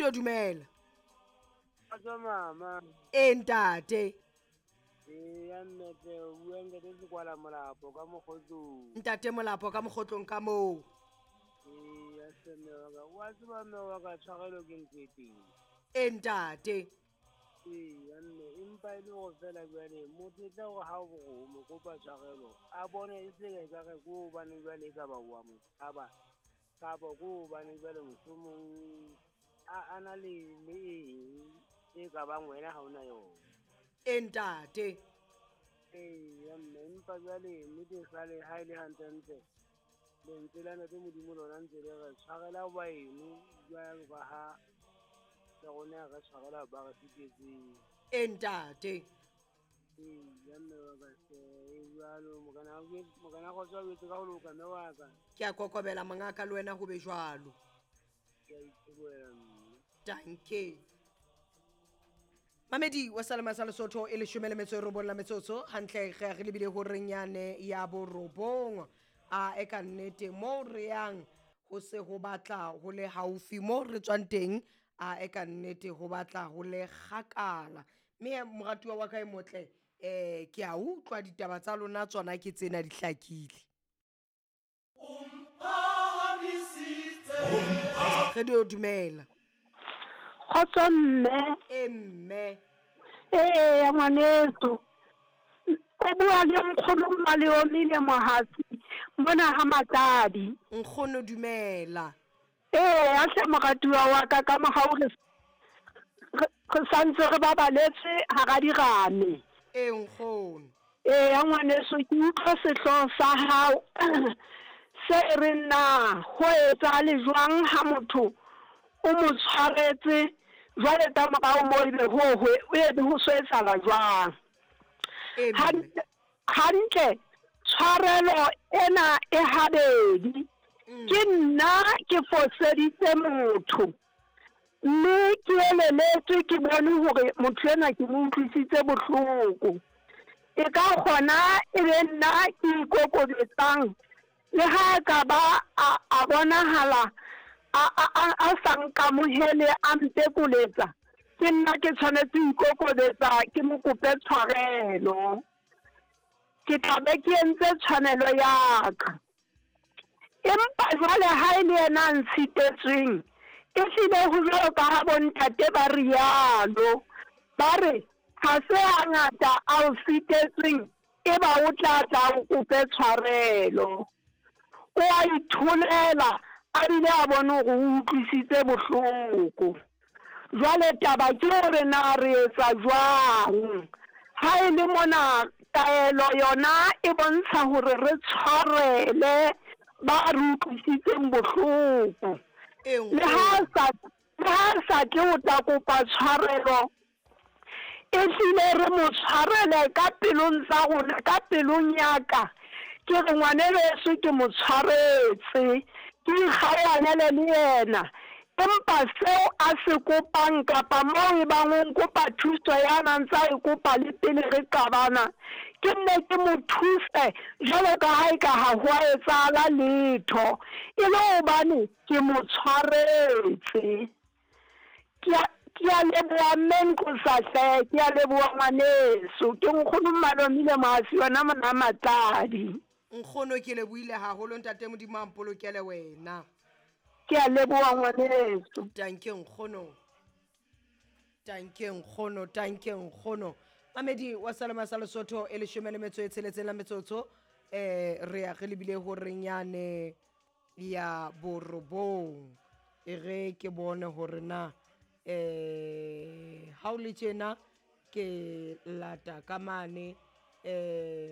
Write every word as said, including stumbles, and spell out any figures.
Radio, dumela. Kgotso mama. E ntate. Eya mme tle, o bua ntate Sekwala Molapo ka Mokgotlong. Ntate Molapo ka Mokgotlong ka moo. Eya hle mme wa ka, wa tseba mme wa ka tshwarelo ke ntho e teng. E ntate. Eya mme, empa e le hore feela jwale motho e tla hore ha o o mo kopa tshwarelo, a bone e se ka ekare ke hobane jwale e ka ba wa mo tshaba, kapa ke hobane jwale mohlomong a, a na le le eng e ka bang wena ha ona yona. E ntate. Eya mme, empa jwale nnete jwale ha e le hantlentle, lentswe la Ntate Modimo lona ntse le re tshwarela baeno jwalo ka ha le rona re tshwarela ba re fetetseng. E ntate. Eya mme wa ka hle, e jwalo mokana mokana kgotso o etse ka ho loka mme wa ka. Ke a kokobela mongaka le wena ho be jwalo. Ke a itebohela mme. Danke. Mamedi wa Salema sa Lesotho e leshome le metso e robong la metsotso hantle re re lebile horeng yane ya borobong. A e ka nnete mo re yang ho se ho batla ho le haufi mo re tswang teng, a e ka nnete ho batla ho le kgakala. Mme moratuwa wa ka e motle, eh ke a utlwa ditaba tsa lona tsona ke tsena di hlakile. Radio, dumela. Kgotso mme. E mme. Ee ngwaneso. O bua le nkgono Maleomile Mohatsi mona ha Matladi. Nkgono dumela. Ee a hle moratuwa wa ka ka mohau re re santse re babaletse hara dirame. Ee nkgono. Ee ngwaneso ke utlwa sehlooho sa hao se re na ho etsahale jwang ha motho o mo tshwaretse jwale ka morao moo ebe ho ho ebe ho so etsahala jwang. Hantle hantle tshwarelo ena e habedi. Ke nna ke foseditse motho mme ke eleletswe ke bone hore motho enwa ke mo utlwisitse bohloko. E ka kgona e be nna ke ikokobetsang le ha ka ba a, a bonahala a a a sa nkamohele a mpekoletsa, ke nna ke tshwanetse ho ikokobetsa ke mo kope tshwarelo. Ke tla be ke entse tshwanelo ya ka. Empa jwale ha e le yena a ntshitetsweng, e hlile ho jwalo ka ha bontate ba rialo, ba re ha se hangata a o sitetsweng e ba o tla tla o kope tshwarelo. O a itholela a bile a bone hore o utlwisitse bohloko. Jwale taba ke hore na re etsa jwang. Ha e le mona taelo yona e bontsha hore re tshwarele ba re utlwisitseng bohloko. Le ha sa le ha sa tle ho tla kopa tshwarelo, e hlile re mo tshwarele ka pelong tsa rona, ka pelong ya ka. Ke re ngwanebeso ke mo tshwaretse, ke ikgaohanele le yena. Empa seo a se kopang kapa moo e bang o nkopa thuso ya na ntsa e kopa le pele re qabana, ke nne ke mo thuse jwalo ka ha e ka ha ho a etsahala letho, e le hobane ke mo tshwaretse. Ke a ke a leboha mme Nqosa hle, ke a leboha ngwaneso. Ke nkgono Malomile Mohatsi yona mona Matladi. Nkgono ke lebohile haholo ntate Modimo a mpolokele wena. Ke a leboha ngwaneso. Danke nkgono. Danke nkgono, danke nkgono. Mamedi wa Salema sa Lesotho e leshome le metso e tsheletseng la metsotso, eh re ya re lebile horeng yane ya borobong. E re ke bone hore na eh ha o le tjena ke lata ka mane eh